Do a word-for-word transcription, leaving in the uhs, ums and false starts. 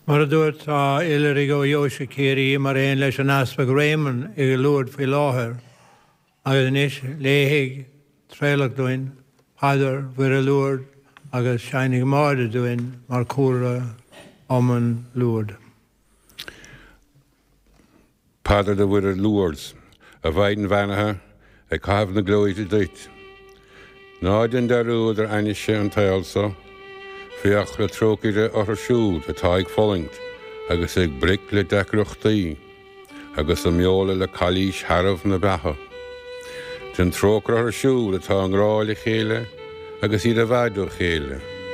Mar a dúirt tá oilithrigh ó Dheoise Chiarraí mar aon leis an Easpag Réamonn i Lourdes faoi láthair, agus anois léifidh Traolach dúinn, Paidir Mhuire Lourdes agus seinnfidh Máire dúinn mar chúlra iomann Lourdes. Paidir do Mhuire Lourdes, a Mhaighdean bheannaithe ag caitheamh na gleoite duit. Ná déan dearúd ar ainnise an tsaoil seo, féach le trócaire orthu siúd atá ag fulaingt agus ag broic le deacrachtaí, agus a mbeola le cailís shearbh na beatha. Déan trócaire orthu siúd atá i ngrá le chéile agus iad i bhfad ó chéile.